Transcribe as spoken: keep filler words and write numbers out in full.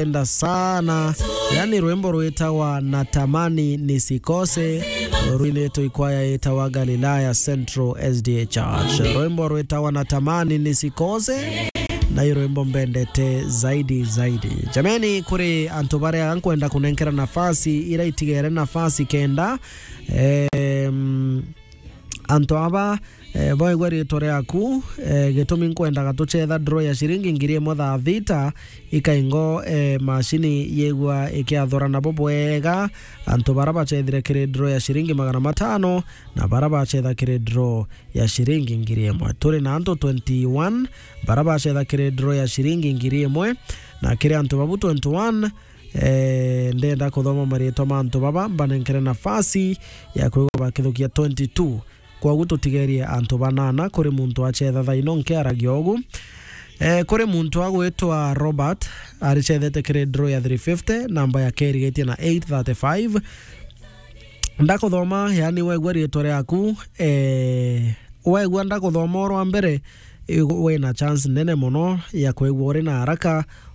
Enda sana. Yani rwimbo rwitawa Natamani Nisikose, rwinitwe ikwaya itawa Galilaya Central S D A Church. Rwimbo rwitawa Natamani Nisikose, na i rwimbo mbendete zaidi zaidi. Jameni, kuri antu baria nkwenda kunenkera nafasi, ira itigere nafasi kenda, em, antu aba, eh, boigwe ritwa riaku, eh, gitumi nkwendaga tuchetha draw ya ciringi ngiri imwe thaa thita, ikaingo, eh, macini yigwa ikiathura nabo bwega, antu bara bachethire kiri draw ya ciringi magana matano, na bara bachetha kiri draw ya ciringi ngiri imwe. Turi na antu twenty-one bara bachetha kiri draw ya ciringi ngiri imwe, na kiri antu babu twenty-one, eh, ndenda kuthoma maritwa ma antu baba mbanenkere nafasi ya kwigwa bakithukia twenty-two. Kwogu tutigerie antu banana kuri muntu achetha thaino nkiaragia ugu. Eh, kuri muntu agwitwa Robert, aricethete kiri draw ya three fifty, namba yake irigitie na eight thirty-five. Ndakuthoma, yani wegua ritwa riaku, eh, wegua ndakuthoma urwa mbere, i-, wina chance nene mono ya kwigua uri na haraka